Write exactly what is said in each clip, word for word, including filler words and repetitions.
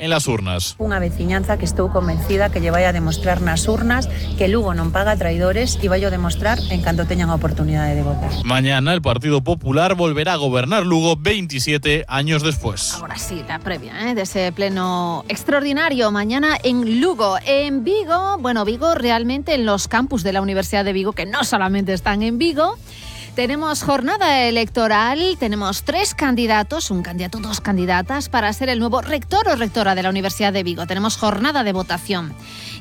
en las urnas. Unha veciñanza que estou convencida que lle vai a demostrar nas urnas que Lugo non paga traidores e vai a demostrar en canto teñan a oportunidade de votar. Mañana el Partido Popular volverá a gobernar Lugo veintisiete años después. Ahora sí, la previa ¿eh? de ese pleno extraordinario mañana en Lugo. En Vigo, bueno, Vigo realmente en los campus de la Universidad de Vigo, que no solamente están en Vigo, tenemos jornada electoral, tenemos tres candidatos, un candidato, dos candidatas para ser el nuevo rector o rectora de la Universidad de Vigo. Tenemos jornada de votación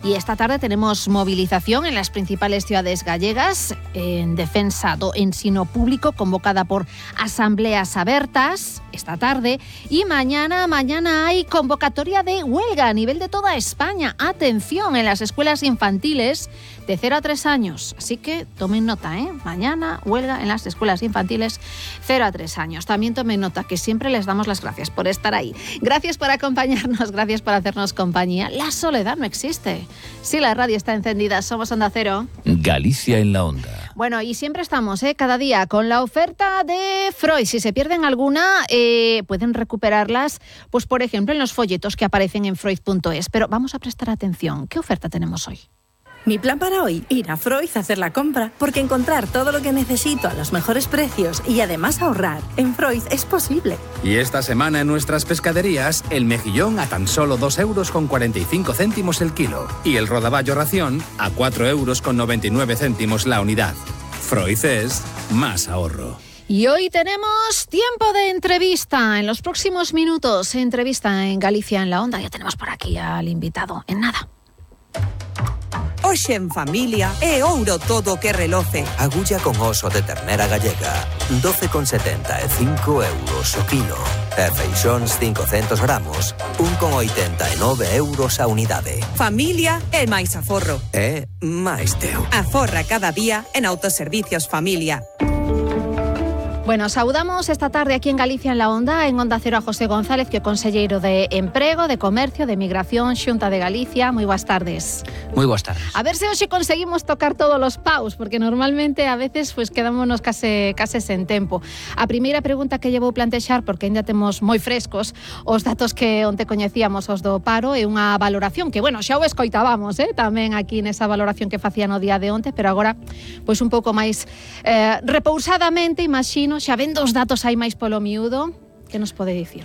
y esta tarde tenemos movilización en las principales ciudades gallegas en defensa do ensino público convocada por asambleas abertas esta tarde y mañana, mañana hay convocatoria de huelga a nivel de toda España. Atención, en las escuelas infantiles de cero a tres años. Así que tomen nota, ¿eh? Mañana huelga en las escuelas infantiles cero a tres años. También tomen nota que siempre les damos las gracias por estar ahí. Gracias por acompañarnos, gracias por hacernos compañía. La soledad no existe. Si la radio está encendida, somos Onda Cero. Galicia en la Onda. Bueno, y siempre estamos, ¿eh? cada día con la oferta de Freud. Si se pierden alguna, eh, pueden recuperarlas, pues por ejemplo, en los folletos que aparecen en freud punto es. Pero vamos a prestar atención. ¿Qué oferta tenemos hoy? Mi plan para hoy, ir a Freud a hacer la compra, porque encontrar todo lo que necesito a los mejores precios y además ahorrar en Freud es posible. Y esta semana en nuestras pescaderías, el mejillón a tan solo dos euros con cuarenta y cinco céntimos el kilo y el rodaballo ración a cuatro euros con noventa y nueve céntimos la unidad. Freud es más ahorro. Y hoy tenemos tiempo de entrevista. En los próximos minutos, entrevista en Galicia en la Onda. Ya tenemos por aquí al invitado. En nada. Hoxe en familia é ouro todo que reloce. Agulla con oso de ternera gallega, doce con setenta e cinco euros o kilo. E feixóns cincocentos gramos, un con oitenta e nove euros a unidade. Familia é máis aforro. É máis teu. Aforra cada día en Autoservicios Familia. Bueno, saudamos esta tarde aquí en Galicia en la Onda, en Onda Cero a José González, que é conselleiro de Emprego, de Comercio, de Migración, Xunta de Galicia. Moi boas tardes. Moi boas tardes. A ver se hoxe conseguimos tocar todos os paus, porque normalmente a veces pues, quedámonos case, case sen tempo. A primeira pregunta que lle vou plantexar, porque ainda temos moi frescos os datos que onte coñecíamos os do paro, é unha valoración que, bueno, xa o escoitábamos, eh, tamén aquí nesa valoración que facían o día de onte, pero agora, pois un pouco máis eh, repousadamente, imagino, xa vendo os datos aí máis polo miúdo, que nos pode dicir?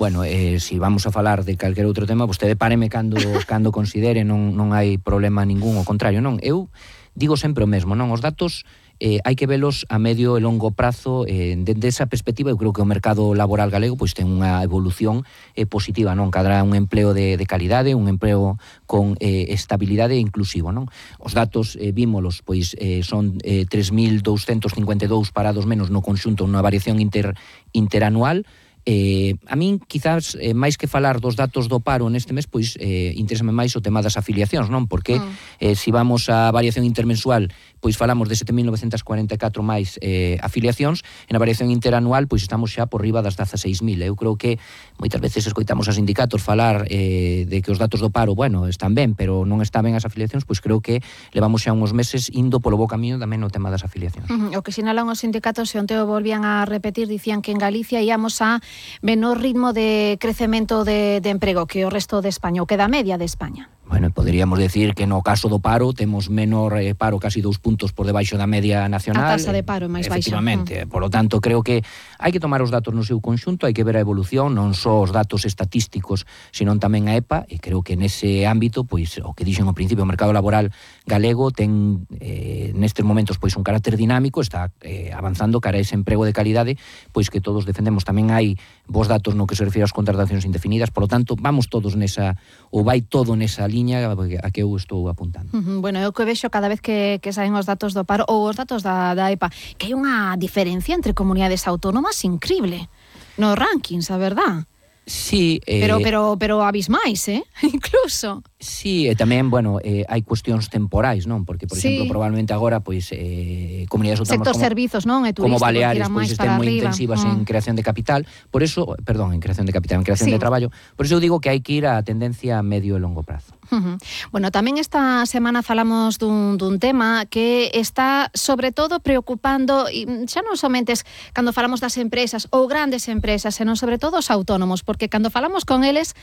Bueno, eh, si vamos a falar de calquer outro tema, vostede páreme cando, cando considere, non, non hai problema ningún, ao contrario, non? Eu digo sempre o mesmo, non? Os datos eh, hai que velos a medio e longo prazo. Eh, dende esa perspectiva, eu creo que o mercado laboral galego pois ten unha evolución eh, positiva, non? Cadrá un empleo de, de calidade, un empleo con eh, estabilidade e inclusivo, non? Os datos, eh, vímolos, pois eh, son eh, tres mil douscentos cincuenta e dous parados menos no conxunto, unha variación inter, interanual. Eh, a min, quizás, eh, máis que falar dos datos do paro neste mes, pois eh, interésame máis o tema das afiliacións, non? Porque mm. eh, si vamos á variación intermensual, pois falamos de sete mil novecentos cuarenta e catro máis eh, afiliacións, e na variación interanual, pois estamos xa por riba das dezaseis mil. Eu creo que moitas veces escoitamos a sindicatos falar eh, de que os datos do paro, bueno, están ben, pero non están ben as afiliacións, pois creo que levamos xa uns meses indo polo bo camiño tamén no tema das afiliacións. Uh-huh. O que sinalan os sindicatos, e onte o volvían a repetir, dicían que en Galicia íamos a menor ritmo de crecemento de, de emprego que o resto de España, o que da media de España. Bueno, poderíamos decir que no caso do paro temos menor eh, paro, casi dous puntos por debaixo da media nacional. A taxa de paro é máis baixa. Efectivamente, mm. por lo tanto, creo que hai que tomar os datos no seu conxunto, hai que ver a evolución, non só os datos estatísticos, senón tamén a E P A, e creo que nese ámbito, pois, o que dixen ao principio, o mercado laboral galego ten eh, nestes momentos pois un carácter dinámico, está eh, avanzando cara a ese emprego de calidade, pois que todos defendemos. Tamén hai vos datos no que se refire ás contratacións indefinidas, por lo tanto, vamos todos nesa, ou vai todo nesa liña a que eu estou apuntando. Uh-huh. Bueno, eu que vexo cada vez que, que saen os datos do paro ou os datos da, da E P A, que hai unha diferencia entre comunidades autónomas increíble nos rankings, a verdad? Sí, eh, pero pero pero abismais, eh? Incluso. Sí, e tamén, bueno, eh, hai cuestións temporais, non? Porque, por sí. exemplo, probablemente agora, pois, eh, comunidades autónomas sector como, servizos, non? E como Baleares, pois, estén moi arriba. intensivas mm. en creación de capital. Por eso, perdón, en creación de capital, en creación sí. de traballo. Por eso eu digo que hai que ir a tendencia a medio e longo prazo. Uh-huh. Bueno, tamén esta semana falamos dun, dun tema que está, sobre todo, preocupando, e xa non somente cando falamos das empresas ou grandes empresas, senón sobre todo os autónomos, porque cando falamos con eles,